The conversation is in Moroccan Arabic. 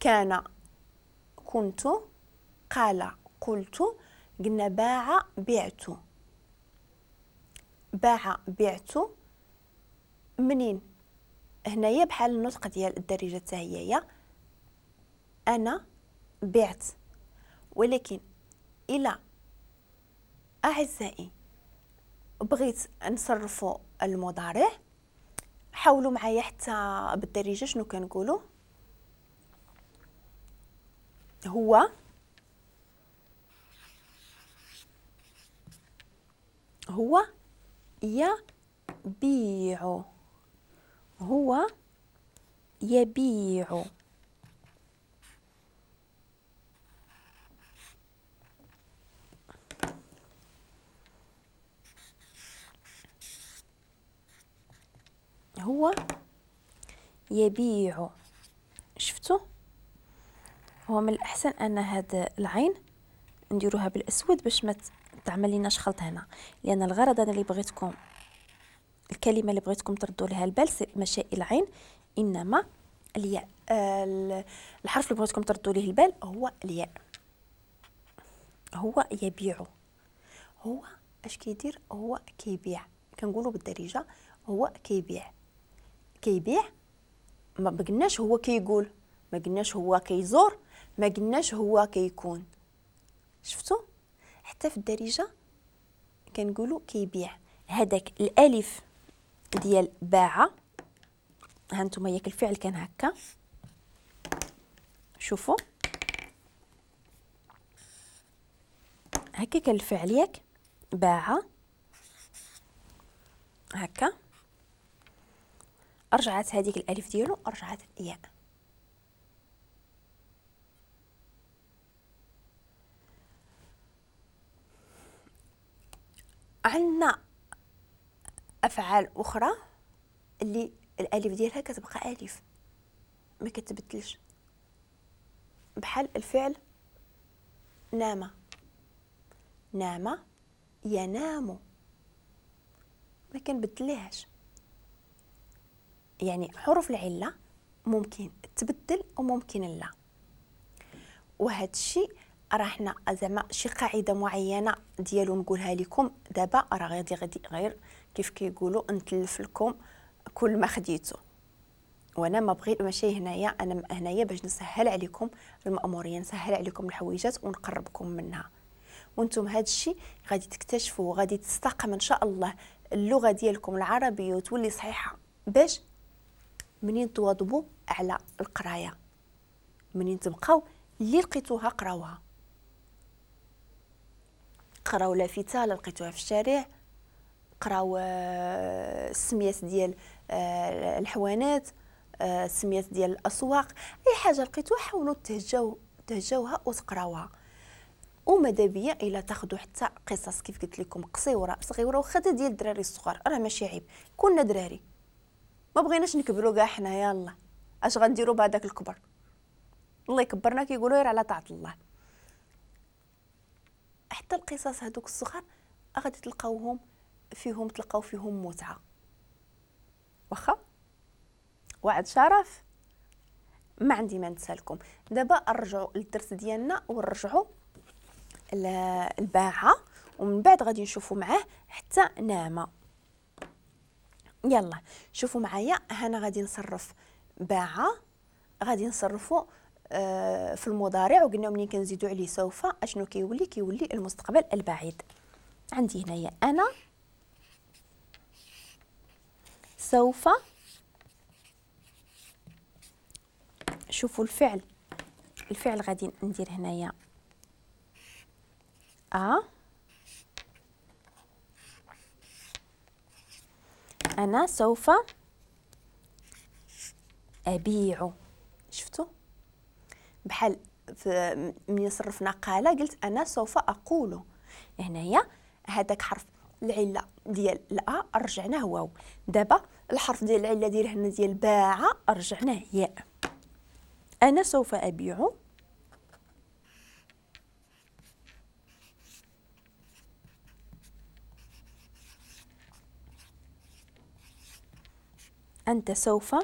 كان كنت، قال قلت، قلنا باع بعت. باع بعت منين؟ هنايا بحال النطق ديال الدارجة حتى هي انا بعت. ولكن الى اعزائي بغيت نصرفوا المضارع، حاولوا معايا حتى بالدارجة شنو كنقولوا. هو هو يبيع، هو يبيع. هو يبيع. شفتوا؟ هو من الأحسن أن هاد العين نديروها بالأسود باش ما تعمل ليناش خلط هنا، لأن الغرض أنا اللي بغيتكم، الكلمة اللي بغيتكم تردوا لها البال ماشي العين، إنما الياء. الحرف اللي بغيتكم تردوا ليه البال هو الياء. هو يبيع، هو اش كيدير؟ هو كيبيع. كنقولوا بالدارجة هو كيبيع. كيبيع ما قلناش هو كيقول، ما قلناش هو كيزور، ما قلناش هو كيكون. شفتوا؟ حتى في الدارجة كنقولوا كيبيع. هذاك الالف ديال باع، ها انتم ياك الفعل كان هكا، شوفوا هكا كان الفعل ياك باع هكا، رجعت هذيك الالف ديالو رجعت ياء. عندنا افعال اخرى اللي الالف ديالها كتبقى الف ما كتبدلش، بحال الفعل نام. نام ينام، ما كنبدلهاش. يعني حروف العلة ممكن تبدل وممكن لا. وهذا الشيء راه حنا زعما شي قاعدة معينة ديالو نقولها لكم دابا، راه غادي غير كيف كيقولوا نتلف لكم كل ما خديتو. وانا ما بغيت ماشي هنايا، انا هنايا باش نسهل عليكم المأموريه، نسهل عليكم الحويجات ونقربكم منها. وانتم هذا الشيء غادي تكتشفوا وغادي تستقم ان شاء الله اللغة ديالكم العربية وتولي صحيحه، باش منين تواظبوا على القراية، منين تبقاو اللي لقيتوها قراوها. قراو لافته لقيتوها في الشارع، قراو السميات ديال الحوانات، السميات ديال الاسواق، اي حاجة لقيتوها حاولوا تهجوها وتقراوها. وماذا بيا الا تاخذوا حتى قصص كيف قلت لكم قصيرة صغيرة وخا ديال الدراري الصغار، راه ماشي عيب، كنا دراري ما بغيناش نكبروا كاع حنا، يلا اش غنديروا بهذاك الكبر؟ الله يكبرنا كيقولوا غير على طاعة الله. حتى القصص هذوك الصغار غادي تلقاوهم فيهم، تلقاو فيهم متعه. واخا وعد شرف ما عندي ما نسالكم. دابا نرجعوا للدرس ديالنا ونرجعوا الباعه، ومن بعد غادي نشوفوا معاه حتى نامه. يلا شوفوا معايا، هنا غادي نصرف باعه، غادي نصرفوا في المضارع، وقلنا منين كنزيدوا عليه سوف اشنو كيولي؟ كيولي المستقبل البعيد. عندي هنايا انا سوف، شوفوا الفعل، الفعل غادي ندير هنايا أنا سوف أبيع. شفتوا بحال من صرفنا قال قلت أنا سوف أقول. هنايا هذاك حرف العلة ديال الأ رجعناه واو، دابا الحرف ديال العلة ديال هنا ديال باع رجعناه ياء. أنا سوف أبيع. أنت سوف